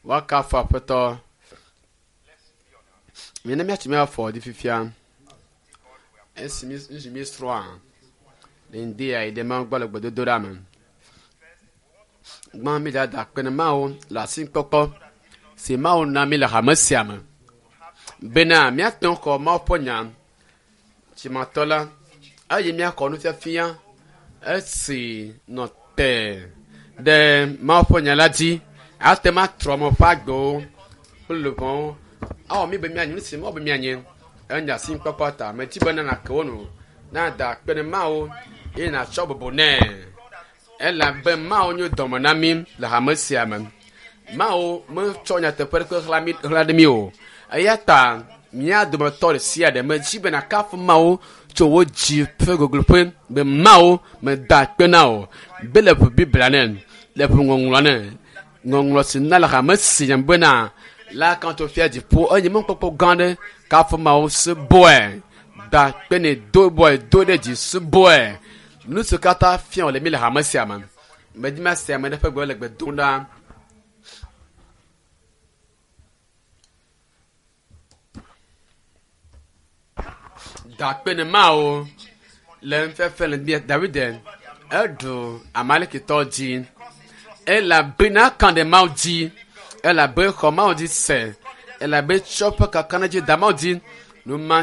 Woakafu Aƒetɔ. Mina míatsi míafɔ ɖi fifia. Esi mí nu si míesrɔ̃a le ŋdi ya yi ɖe Mawu gbɔ le gbedodoɖa me. Gbã mídza da akpe na Mawu le asikpɔkpɔ si Mawu na mí le hame sia me bena míate ŋu xɔ Mawu ƒe nya tsimatɔ la eye míaxɔ nufiafia esi nɔ te ɖe Mawu ƒe nya la dzi ate ŋu atrɔ ame ƒe agbewo kple luʋɔwo awɔ mí be míanye nu si Mawu be míanye. Enye asikpɔkpɔ ta medi be ne nàke wo nu nada akpe ne Mawu eye nàtsɔ bubu nɛ elabe Mawu nyo dɔme na mí le hame sia me. Mawu metsɔ nyateƒe ɖeke ɣla mí ɣla ɖe mí o. Eya ta mía dometɔ ɖe sia ɖe medzi be nàkafu Mawu tso wò dzi ƒe gogloƒe be Mawu meda akpe na wò be le ʋu Biblia ne, le ʋu ŋɔŋlɔ ne, ŋɔŋlɔ si na le hame sia me bena la kan tso fia dziƒo enye mɔkpɔkpɔ gã aɖe kafu Mawu subɔe da akpe nɛ do bɔe do ɖe dzi subɔe nu si katã fia wòle mí le hame sia me. Medi mase ame ɖe ƒe gbe le gbe dom ɖa. Da akpe ne Mawu le nufiafia le bia David eɖu Amalekitɔ dzi elabena kan ɖe Mawu dzi elabe xɔ Mawu dzi se elabe tsɔ ƒe kakaɖedzi da Mawu dzi. Nu ma.